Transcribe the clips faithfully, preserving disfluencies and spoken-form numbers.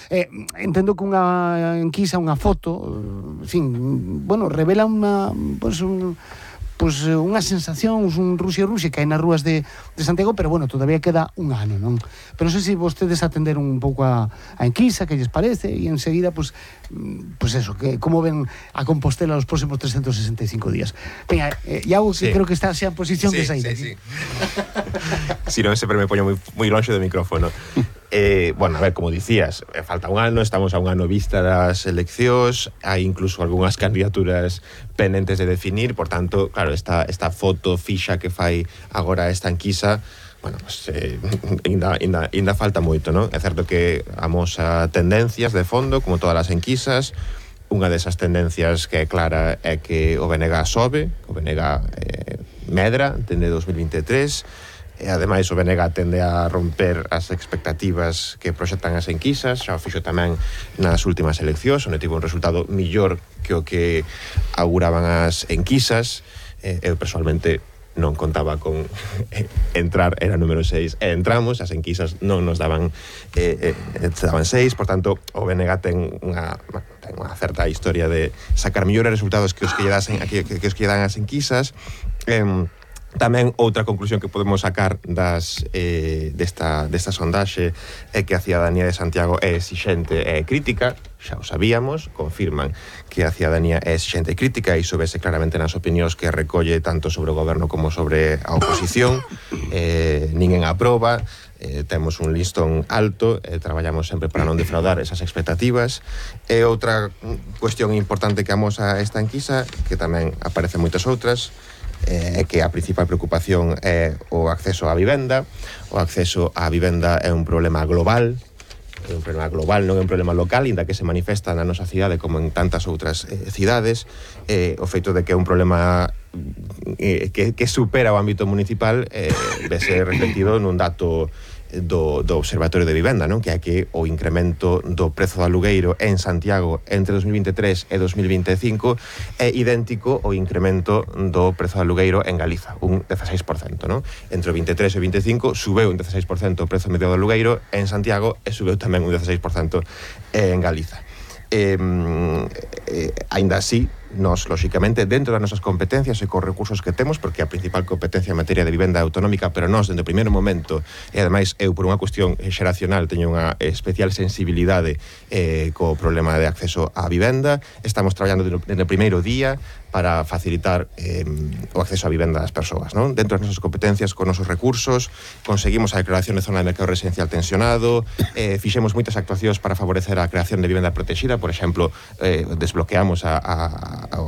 Eh, entendo que unha enquisa, unha foto, en fin, bueno, revela unha, pues, un... pois unha sensación, un Rusia-Rusia que hai nas rúas de, de Santiago, pero bueno, todavía queda un ano, non? Pero non sei se vostedes atenderon un pouco a, a enquisa, que lles parece, e enseguida, pois, pois eso, que como ven a Compostela os próximos trescentos sesenta e cinco días. Venga, eh, Iago, que sí. creo que está xa en posición sí, de saída. Sí, sí, Si non, sempre me poño moi, moi longe do micrófono. Eh, bueno, a ver, como dicías, falta un ano, estamos a un ano vista das eleccións, hai incluso algunhas candidaturas pendentes de definir, por tanto, claro, esta, esta foto fixa que fai agora esta enquisa, bueno, pues, eh, ainda, ainda, ainda falta moito, non? É certo que amosa tendencias de fondo, como todas as enquisas. Unha desas tendencias que é clara é que o B N G sobe, o B N G eh, medra, tende dos mil veintitrés, e ademais o B N G tende a romper as expectativas que proxectan as enquisas, xa o fixo tamén nas últimas eleccións, onde tivo un resultado millor que o que auguraban as enquisas. eh, eu personalmente non contaba con entrar, era número seis, e entramos, as enquisas non nos daban eh, eh, daban seis, por tanto o B N G ten unha, ten unha certa historia de sacar millores resultados que os que lle dasen, que, que, que os que lle dan as enquisas. eh, Tamén outra conclusión que podemos sacar das eh, desta, desta sondaxe é que a cidadanía de Santiago é exixente e crítica, xa o sabíamos, confirman que a cidadanía é exixente e crítica, e iso vese claramente nas opinións que recolle tanto sobre o goberno como sobre a oposición. eh, ninguén aproba, eh, temos un listón alto, eh, traballamos sempre para non defraudar esas expectativas. E outra cuestión importante que amosa esta enquisa, que tamén aparecen moitas outras, é eh, que a principal preocupación é o acceso á vivenda. O acceso á vivenda é un problema global, é un problema global, non é un problema local, inda que se manifesta na nosa cidade como en tantas outras eh, cidades. Eh, o feito de que é un problema eh, que, que supera o ámbito municipal eh, vese reflectido nun dato do, do Observatorio de Vivenda, non? Que é que o incremento do prezo do alugueiro en Santiago entre dos mil veintitrés e dos mil veinticinco é idéntico ao incremento do prezo do alugueiro en Galiza, un dieciséis por cento, non? Entre o veintitrés e o veinticinco subeu un dieciséis por cento o prezo medio do alugueiro en Santiago e subeu tamén un dieciséis por cento en Galiza. Eh, eh, ainda así, nos, lóxicamente, dentro das nosas competencias e cos recursos que temos, porque a principal competencia en materia de vivenda autonómica, pero nós, dende o primeiro momento, e ademais eu, por unha cuestión xeracional, teño unha especial sensibilidade eh, co problema de acceso á vivenda, estamos traballando dende o primeiro día para facilitar eh, o acceso á vivenda das persoas, non? Dentro das nosas competencias, con nosos recursos, conseguimos a declaración de zona de mercado residencial tensionado, eh, fixemos moitas actuacións para favorecer a creación de vivenda protegida, por exemplo, eh, desbloqueamos a, a, a,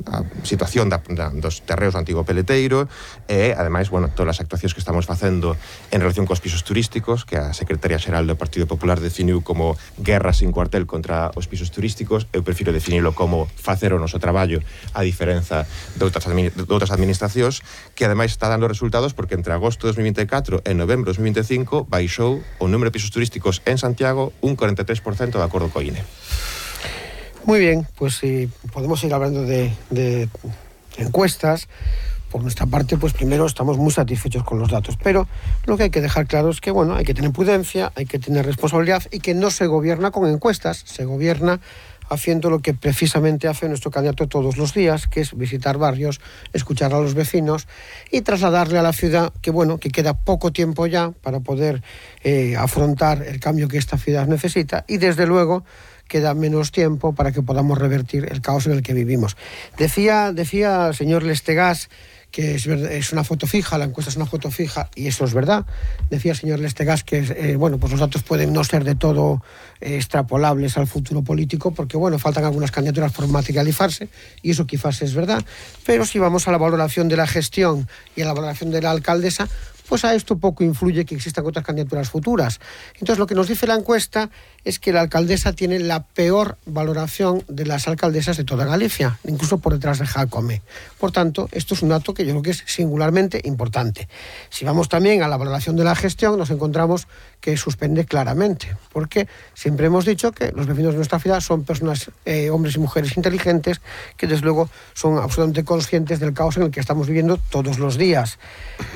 a situación da, da, dos terreos do antigo peleteiro, e, ademais, bueno, todas as actuacións que estamos facendo en relación cos pisos turísticos, que a Secretaría Xeral do Partido Popular definiu como guerra sin cuartel contra os pisos turísticos. Eu prefiro definilo como facer o noso traballo, a diferenza de outras, de outras administracións, que ademais está dando resultados, porque entre agosto de dos mil veinticuatro e novembro de dos mil veinticinco baixou o número de pisos turísticos en Santiago un cuarenta y tres por ciento de acordo co I N E. Muy bien, pues si podemos ir hablando de, de encuestas. Por nuestra parte, pues primero estamos muy satisfechos con los datos, pero lo que hay que dejar claro es que, bueno, hay que tener prudencia, hay que tener responsabilidad, y que no se gobierna con encuestas, se gobierna haciendo lo que precisamente hace nuestro candidato todos los días, que es visitar barrios, escuchar a los vecinos y trasladarle a la ciudad que, bueno, que queda poco tiempo ya para poder eh, afrontar el cambio que esta ciudad necesita, y desde luego queda menos tiempo para que podamos revertir el caos en el que vivimos. Decía, decía el señor Lestegás que es, es una foto fija, la encuesta es una foto fija, y eso es verdad. Decía el señor Lestegás que eh, bueno, pues los datos pueden no ser de todo eh, extrapolables al futuro político, porque bueno, faltan algunas candidaturas por materializarse, y eso quizás es verdad, pero si vamos a la valoración de la gestión y a la valoración de la alcaldesa, pues a esto poco influye que existan otras candidaturas futuras. Entonces, lo que nos dice la encuesta es que la alcaldesa tiene la peor valoración de las alcaldesas de toda Galicia, incluso por detrás de Jácome. Por tanto, esto es un dato que yo creo que es singularmente importante. Si vamos también a la valoración de la gestión, nos encontramos que suspende claramente, porque siempre hemos dicho que los vecinos de nuestra ciudad son personas, eh, hombres y mujeres inteligentes, que desde luego son absolutamente conscientes del caos en el que estamos viviendo todos los días.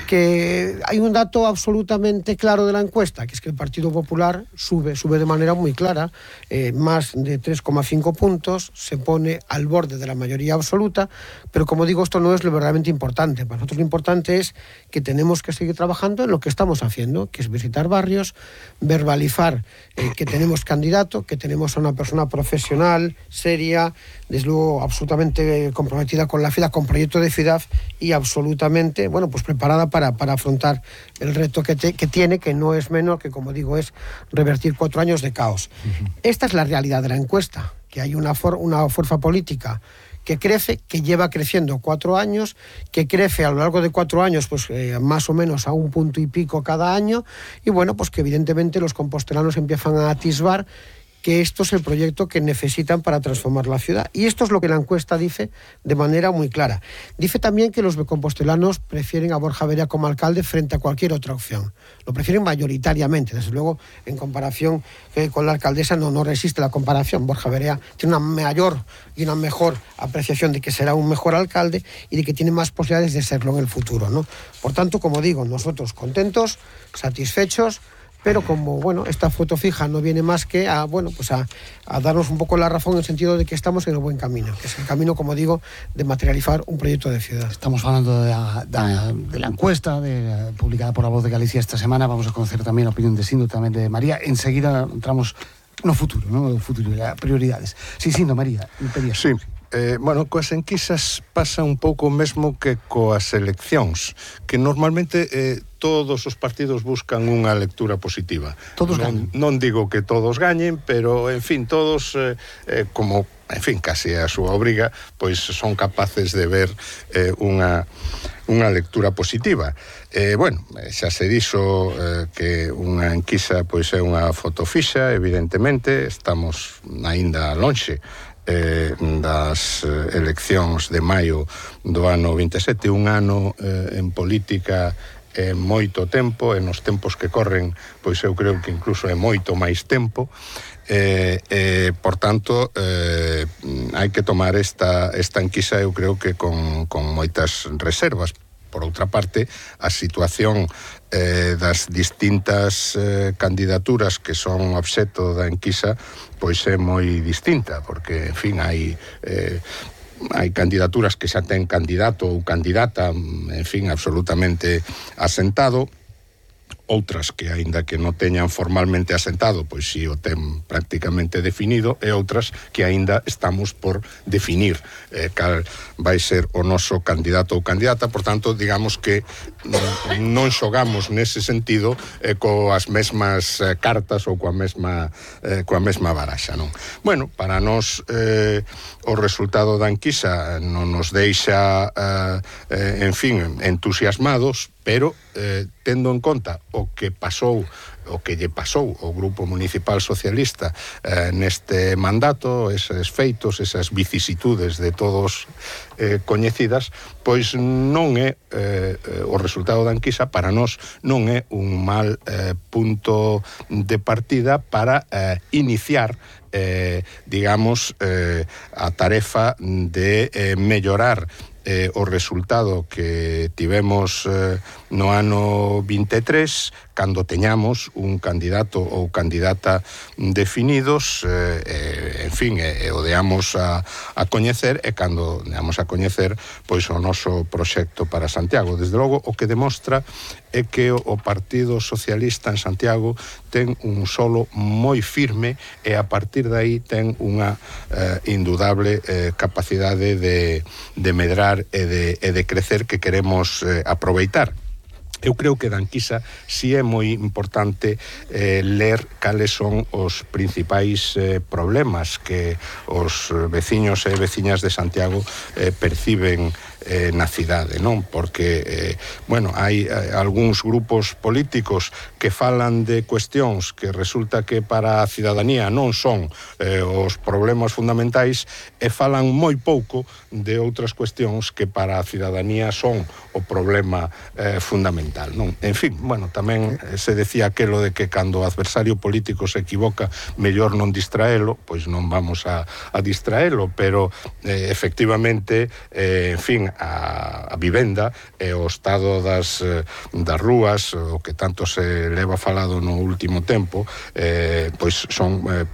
Que hay un dato absolutamente claro de la encuesta, que es que el Partido Popular sube, sube de manera muy clara, eh, más de tres coma cinco puntos, se pone al borde de la mayoría absoluta, pero como digo, esto no es lo verdaderamente importante. Para nosotros lo importante es que tenemos que seguir trabajando en lo que estamos haciendo, que es visitar barrios, verbalizar eh, que tenemos candidato, que tenemos a una persona profesional, seria, desde luego absolutamente comprometida con la ciudad, con proyecto de ciudad y absolutamente, bueno, pues preparada para, para afrontar el reto que, te, que tiene, que no es menor, que como digo es revertir cuatro años de caos. Uh-huh. Esta es la realidad de la encuesta, que hay una, for, una fuerza política que crece, que lleva creciendo cuatro años, que crece a lo largo de cuatro años, pues eh, más o menos a un punto y pico cada año, y bueno, pues que evidentemente los compostelanos empiezan a atisbar que esto es el proyecto que necesitan para transformar la ciudad. Y esto es lo que la encuesta dice de manera muy clara. Dice también que los compostelanos prefieren a Borja Verea como alcalde frente a cualquier otra opción. Lo prefieren mayoritariamente. Desde luego, en comparación eh, con la alcaldesa, no, no resiste la comparación. Borja Verea tiene una mayor y una mejor apreciación de que será un mejor alcalde y de que tiene más posibilidades de serlo en el futuro, ¿no? Por tanto, como digo, nosotros contentos, satisfechos, pero como, bueno, esta foto fija no viene más que a, bueno, pues a, a darnos un poco la razón en el sentido de que estamos en el buen camino, que es el camino, como digo, de materializar un proyecto de ciudad. Estamos hablando de la, de, de la encuesta de, publicada por La Voz de Galicia esta semana. Vamos a conocer también la opinión de Sindo, también de María. Enseguida entramos no futuro, no futuro, prioridades. Sí, Sindo, María, pedías. Sí. Eh, bueno, coas enquisas pasa un pouco o mesmo que coas eleccións, que normalmente eh, todos os partidos buscan unha lectura positiva. Todos non, gañen. Non digo que todos gañen, pero, en fin, todos, eh, eh, como, en fin, case a súa obriga, pois son capaces de ver eh, unha, unha lectura positiva. Eh, bueno, xa se dixo eh, que unha enquisa pois é unha foto fixa, evidentemente, estamos aínda lonxe Eh, das eh, eleccións de maio do ano vinte e sete, un ano eh, en política é moito tempo, e nos tempos que corren, pois eu creo que incluso é moito máis tempo, eh, eh, por tanto, eh, hai que tomar esta, esta enquisa, eu creo que con, con moitas reservas. Por outra parte, a situación eh, das distintas eh, candidaturas que son obxecto da enquisa pois é moi distinta, porque, en fin, hai eh, hai candidaturas que xa ten candidato ou candidata, en fin, absolutamente asentado, outras que, aínda que non teñan formalmente asentado, pois si o ten prácticamente definido, e outras que aínda estamos por definir eh, cal vai ser o noso candidato ou candidata. Por tanto, digamos que non xogamos nese sentido eh, coas mesmas eh, cartas ou coa mesma eh, coa mesma baraxa, non? Bueno, para nós eh, o resultado da enquisa non nos deixa eh, eh, en fin, entusiasmados, pero eh, tendo en conta o que pasou, o que lle pasou ao Grupo Municipal Socialista eh, neste mandato, eses feitos, esas vicisitudes de todos eh, coñecidas, pois non é eh, o resultado da enquisa para nós non é un mal eh, punto de partida para eh, iniciar eh, digamos eh, a tarefa de eh, mellorar eh, o resultado que tivemos eh, no ano vinte e tres, cando teñamos un candidato ou candidata definidos, eh, en fin, e, e o deamos a, a coñecer, e cando deamos a coñecer pois o noso proxecto para Santiago. Desde logo, o que demostra é que o Partido Socialista en Santiago ten un solo moi firme, e a partir de aí ten unha eh, indudable eh, capacidade de, de medrar e de, e de crecer que queremos eh, aproveitar. Eu creo que da enquisa si é moi importante eh, ler cales son os principais eh, problemas que os veciños e veciñas de Santiago eh, perciben eh, na cidade, non? Porque, eh, bueno, hai eh, algúns grupos políticos que falan de cuestións que resulta que para a cidadanía non son eh, os problemas fundamentais, e falan moi pouco de outras cuestións que para a cidadanía son o problema eh, fundamental, non? En fin, bueno, tamén eh, se decía aquelo de que cando o adversario político se equivoca, mellor non distraelo, pois non vamos a, a distraelo, pero eh, efectivamente, eh, en fin, a, a vivenda e o estado das, das rúas, o que tanto se leva falado no último tempo, eh, pois son eh, problemas